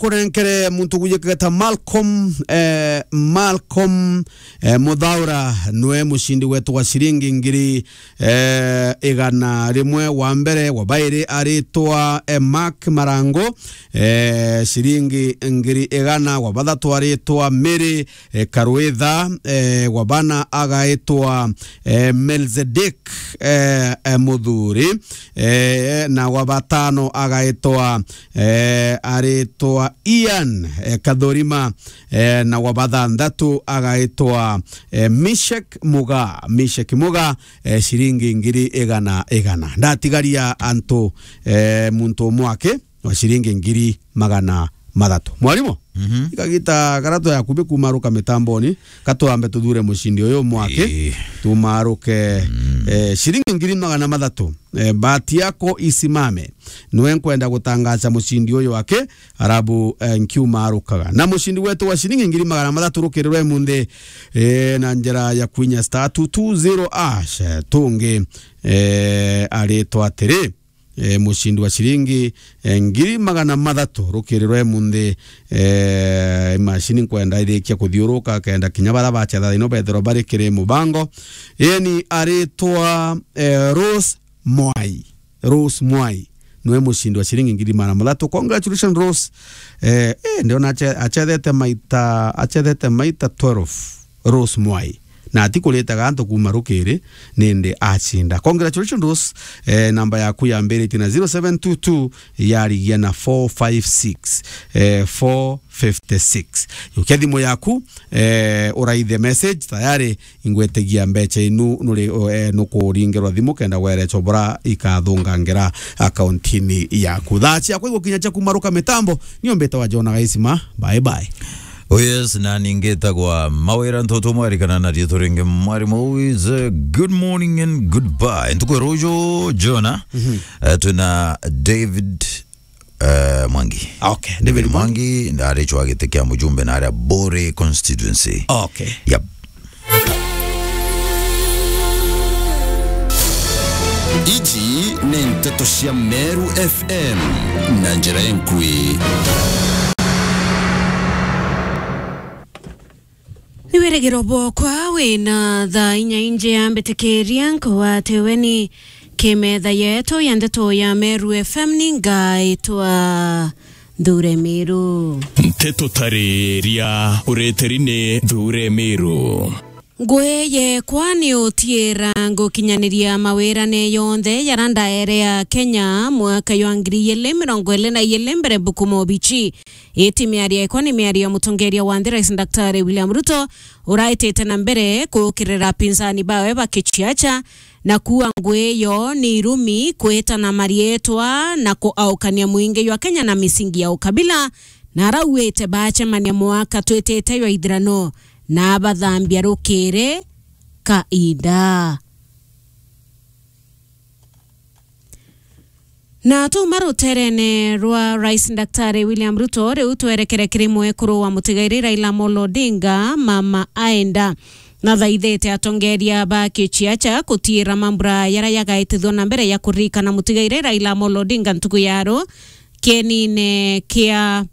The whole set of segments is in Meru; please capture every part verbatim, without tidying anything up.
nkurenkere muntu gujikageta Malcolm, eh, Malcolm, eh, Muthaura nwe mucindi wetu wa ciringi ngiri, eh, igana rimwe. Wa mbere, wa bairi aritwa, eh, Mark Marango, eh, ciringi ngiri igana. Wa bathatu aritwa Mary, eh, Karwitha, eh, wa bana agaitwa, eh, Melzedek, eh, eh, Muthuri, eh, na wa batano agaitwa, eh, aritwa Ian, eh, Kathurima, eh, na wa bathanthatu agaitwa, eh, Mishek Muga, Mishek Muga, eh, ciringi ngiri igana igana. Ndatigaria antu, eh, muntu umwe aki wa ciringi ngiri magana mathatu. Mwarimu, Mhm. ikagita kara twayakubi kumaruka mitamboni, katwambe tuthure mucindi uyu mwaki, Ii. tumaruke, Mm. eh, ciringi ngiri magana mathatu. Eh, bahati yako isimame. Nwe nkwenda gutangaza mucindi uyu wake, arabu, eh, nkiumarukaga. Na mucindi wetu wa ciringi ngiri magana mathatu rukirirwe munthi, eh, na njira ya kwinya star two two zero hash, eh, tungi, eh, aritwa atiri, eh, mucindi wa ciringi, eh, ngiri magana mathatu rukirirwe munthi, eh, imashini nkwenda irikia kuthiuruka, kenda kinya bara bacetha thino bethirwa bari kiri mubango. Yeni aritwa, eh, Rose Mwai. Rose Mwai. Nwe mucindi wa ciringi ngiri magana mathatu. Congratulations, Rose. Eh, eh, ndiona ache-, achethete maita, achethete maita twelve. Rose Mwai. Na atikuritaga antu kuuma rukiri, nindi acinda. Congratulations, Rose. Eh, namba yaku yambiritie na zero seven two two, yarigia na four five six, eh, four fifty six. Yukia thimu yaku, eh, uraithe message, tayari ingwetigia mbecha inu nuri, eh, nukuringirwa thimu kenda werecwa bura ikathungangira akaunti-ini yaku. Thaa ciakwa igukinya cia kumaruka mitambo, nio mbitawa Jona Gaisima. Bye bye. Oh yes, na ningitagwa Mawira Ntoto Mwari kana na riitwa ringi Mwari Mowis. Eh, good morning and goodbye. Ntuku ya ruju, Jona, Mhm. eh, twina David, eh, Mwangi. Okay, David Mwangi. Mwangi, ndaricwa giti kia mujumbe na aria Bore constituency. Okay. Yep. Iji ni nteto cia Meru F M na njira enkui. Ni wirigiro bwokwa wina thaa inya inji ya mbitikiria nkugwate weni kimetha yetu ya ndeto ya Meru F M ni ngaitwa Nthure Miru. Nteto tariria ureteri ni Nthure Miru. Ngui yekwa ni utiira ngukinyaniria mawirane yonthe jara ndaere ya Kenya mwaka jwa ngiri igiri mirongo iri na igiri mbere mbuku mobichi. Iti miario yekwa ni miario ya mutongeria wa nthi Rais Daktari William Ruto, uraitite na mbere kukirira apinzani bawe ba kiciacha na kuuga ngui iyo ni irumi kwitana marietwa na kuaukania mwingi jwa Kenya na misingi ya ukabila, na arauite bacemania mwaka twitite jwa ithirano na abathambia rukiri kainda. Na tuma ruterene rwa Rais Daktari William Ruto, riu twerekere kiri mwekuru wa mutigairi Raila Amolo Odinga, Mama Aenda. Nathaithite atongeria ba kiciacha kutiira mambura jaria jagaitithua na mbere ya kuririkana mutigairi Raila Amolo Odinga ntuku ya ru kienine kia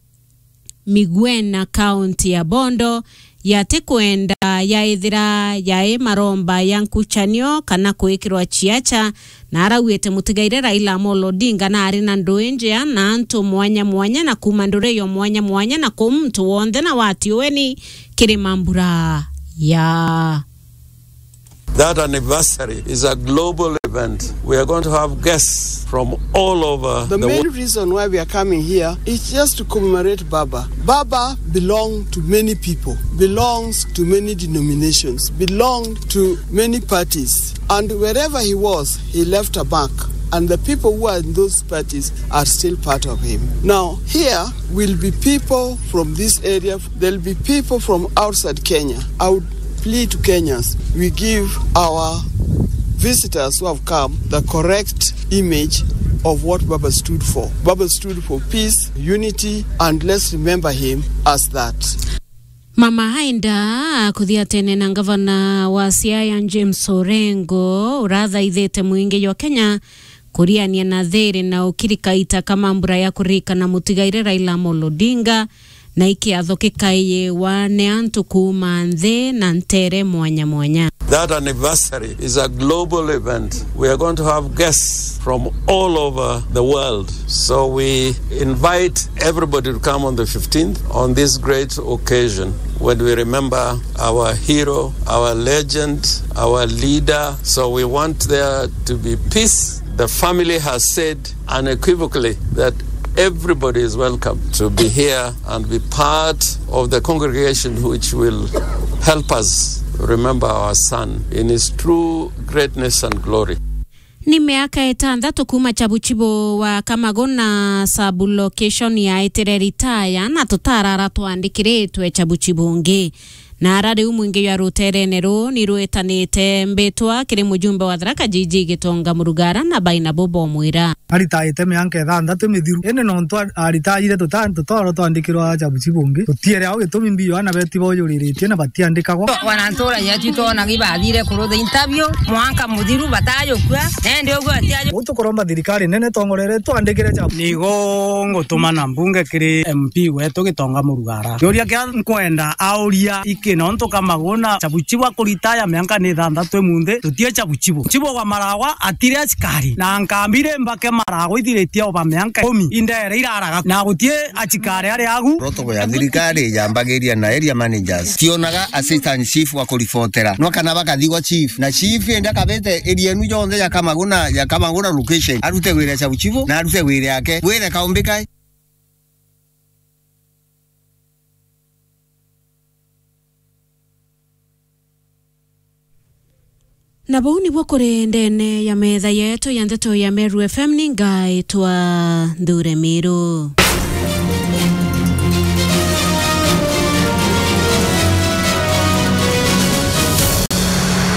Migwena, kaunti ya Bondo, yatikwenda yaithira yai maromba ya nkuchanio kana kwikirwa ciacha, na arauite mutigaire Raila Amolo Odinga na ari na ndui njea na antu mwanya mwanya na kuuma nduri yo mwanya mwanya na kuu muntu wonthe na watiueni kiri mambura ya That anniversary is a global event. We are going to have guests from all over The the main world. Reason why we are coming here is just to commemorate Baba. Baba belonged to many people, belongs to many denominations, belonged to many parties. And wherever he was, he left a mark. And the people who are in those parties are still part of him. Now, here will be people from this area, there'll be people from outside Kenya. I would plea to Kenyans, we give our visitors who have come the correct image of what Baba stood for. Baba stood for peace, unity, and let's remember him as that. Mama Hainda akuthiatene na ngavana wa Siaya James Orengo, urathaithite mwingi jwa Kenya Kuriania na thiri na ukirikaita ka mambura ya kuririkana mutigaire Raila Amolo Odinga, na ikiatho kikaiwa ni antu kuuma nthi na ntere mwanya mwanya. That anniversary is a global event. We are going to have guests from all over the world. So we invite everybody to come on the fifteenth on this great occasion when we remember our hero, our legend, our leader. So we want there to be peace. The family has said unequivocally that everybody is welcome to be here and be part of the congregation which will help us remember our son in his true greatness and glory. Ni miaka itantatu kuuma Chabuchibu wa Kamaguna sub-location yaitire ritaya, na tutarara twandikiritwe Chabuchibu ungi. Na ara riu mwingi jwa ruterene ruu ni rwetanite mbitwa kiri mujumbe wa Tharaka Jiji Gitonga Murugara na baina bo bomwira. Aritaite mianka ithanthatu mithiru, indi nontu a-, aritaire tuta-, tutoro twandikirwa Chabuchibu ungi, tutiere au gitumi mbi Yohana beti bojuriritie na batiandikagwa. Wanantura yetu twona gibathire kurutha interview, mwanka muthiru batayukua, indi uguo atiaju. Uu tukuromba thirikari nene tongorere twandikire Chabu. Nigo ngutuma na mbunge kiri M P wetu Gitonga Murugara. Kiuria kia nkwenda auria iki nontu Kamaguna Chabuchibu akuritaya mianka ni ithanthatu imunthi, tutie Chabuchibu. Chibu wa Maragwa atire asikari, na nkambi ri mbake Maragwa ithiritie oba mianka ikumi, indere iraraga, na gutie asikari ari agu. Protocol ya thirikari yambagiria na area managers. Tionaga assistant chief wa kuribotera. No kana bakathigwa chief. Na chief indi akabete area enu yonthe ya Kamaguna, ya Kamaguna location. Arute wira Chabuchibu, na arute wira yake. Wire kaumbi kai? Na buu nibuo kuri ndene ya metha yetu ya ndeto ya Meru F M, ni ngaitwa Nthure Miru.